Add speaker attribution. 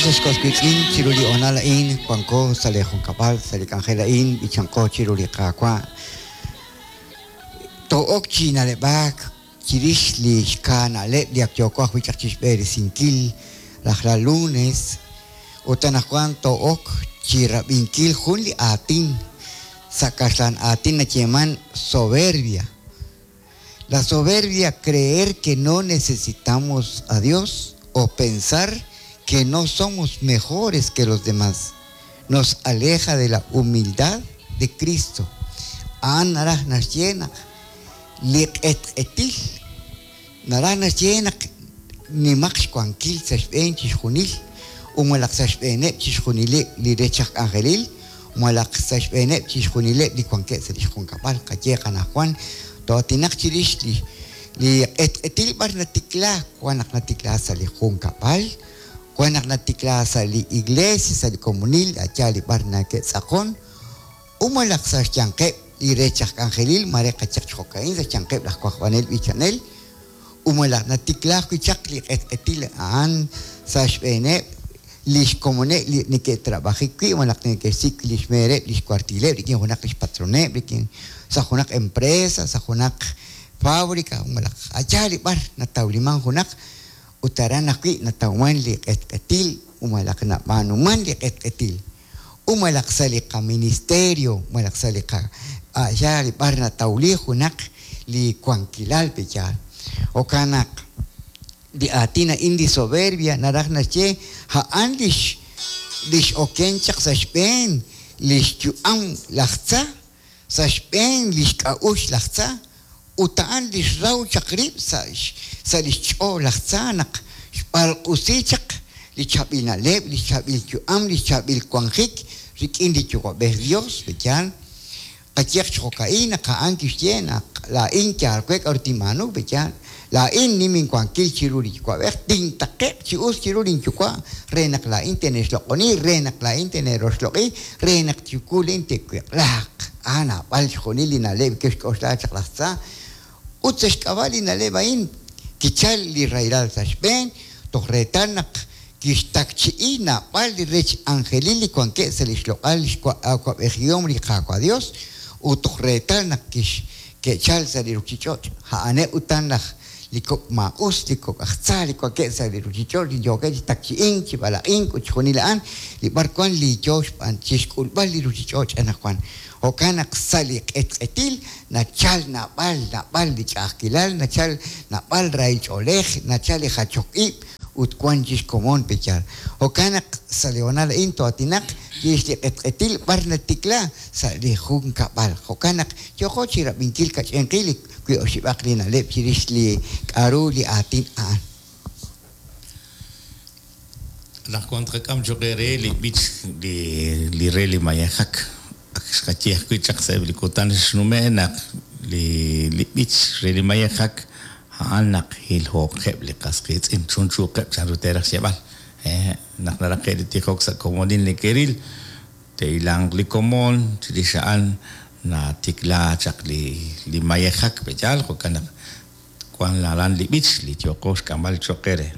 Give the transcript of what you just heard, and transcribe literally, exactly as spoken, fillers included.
Speaker 1: Ex was wiitz'in chiru li hoonal a'in wanko sa' li junkab'al sa' li k'anjel a'in b'ichanqo chiru li Qaawa'. To'ok chi na'leb'ak chirix li xkaa na'leb' li ak yooko ajwi' chaq chixb'eresinkil rajlal lunes ut anaqwan to'ok chi rab'inkil jun li aatin sa' kaxlan aatin nayeeman soberbia. La soberbia, creer que no necesitamos a Dios o pensar que no somos mejores que los demás, nos aleja de la humildad de Cristo. A'an naraj naxye naq li q'etq'etil, naraj naxye naq nimaq xwankil sa' xb'een chixjunil, u malaq sa' xb'eeneb' chixjunileb' li rech aj k'anjelil, malaq sa' xb'eeneb' chixjunileb' li wankeb' sa' li xjunkab'al qaye qanajwan to'atinaq chirix li li q'etq'etil b'ar natikla wan naq natikla sa' li junkab'al, wan naq natikla sa' li iglesia, sa' li komunil, aya li b'ar nake'tz'aqon, u malaq sa' xyanqeb' li rech aj k'anjelil mare qachaq xjo'ka'in sa' xyanqeb' laj wajb'anel b'ichanel, u malaq natikla ajwi' chaq li q'etq'etil a'an sa' xb'eeneb' li xkomoneb' li neke'trab'ajik wi' malaq neke'xsik' li xmeereb' li xkuartileb' rik'in junaq li xpatroneb' rik'in sa' junaq empresa, sa' junaq fábrica, malaq aya li b'ar natawliman junaq ut aran ajwi' natawman li q'etq'etil u malaq nab'aanuman li q'etq'etil. U malaq sa' li qaministerio, malaq sa' li qa aya li b'ar natawli junaq li wankilal peyaal. Jo'kan naq li aatin a'in li soberbia naraj naxye a'an lix lix oken chaq sa' xb'een lix yu'am laj tza, sa' xb'een lix k'a'uxl laj tza, ut a'an lix raw chaq rib' sa' sa' lix ch'ool laj tza naq xb'alq'usi chaq li chaab'il na'leb', li chaab'il yu'am, li chaab'il wanjik rik'in li Yuwa'b'ej Dios, peyaal. Qayeq xjo'ka'in naq a'an kixye naq laa'in yaal we k'a'ru tinb'aanu, peyaal. Laa'in nim inwankil chiru li Yuwa'b'ej, tintaqe'q chi us chiru linyuwa' re naq laa'in tene'xloq'oni, re naq laa'in tene'roxloq'i, re naq chiwu lin te'wiq'laaq. A'an naab'al xjunil li na'leb' kixk'oxla chaq laj tza. Ut sa' xk'ab'a' li na'leb' a'in kichal li rahilal sa' xb'een, toj reetal naq kixtakchi'i naab'al li rech anjelil li wankeb' sa' li xloq'al li xwa'b'ejihom li Qaawa' Dios, ut toj reetal naq kix ke'chal sa' li ruchich'och'. A'aneb' utan laj li kok' maa'us, li kok' aj tza, li wankeb' sa' li ruchich'och', li yookeb' chi takchi'ink, chi b'alaq'ink ut xjunil a'an, li b'ar wan li yoo xb'aan chixk'ulb'al li ruchich'och' anaqwan. Jo'kan naq sa' li q'etq'etil nachal naab'al, naab'al li ch'a'ajkilal, nachal naab'al rahil ch'oolej, nachal li jachok ib' ut wan chixkomon peyaal. Jo'kan naq sa' li hoonal a'in to'atinaq chirix li q'etq'etil b'ar natikla sa' li junkab'al. Jo'kan naq yooko chi rab'inkil kach'inqil li wi oxib'aq li na'leb' chirix li k'a'ru li aatin a'an.
Speaker 2: Anaqwan tqak'am choq re li b'ich li li re li mayejak. Ak xqaye ajwi' chaq sa'eb' li kutan xnume' naq li li b'ich re li mayejak a'an naq hilhooqeb' li qas qiitz'in chunchuuqeb' chanru teeraj xyeeb'al. Eh, naq naraqe' li tijok sa' komonil neke'ril, te'ilanq li komon chirix a'an natikla chaq li li mayejak peyaal. Jo'kan naq wan aran li b'ich li yooqo xk'amb'al choq re.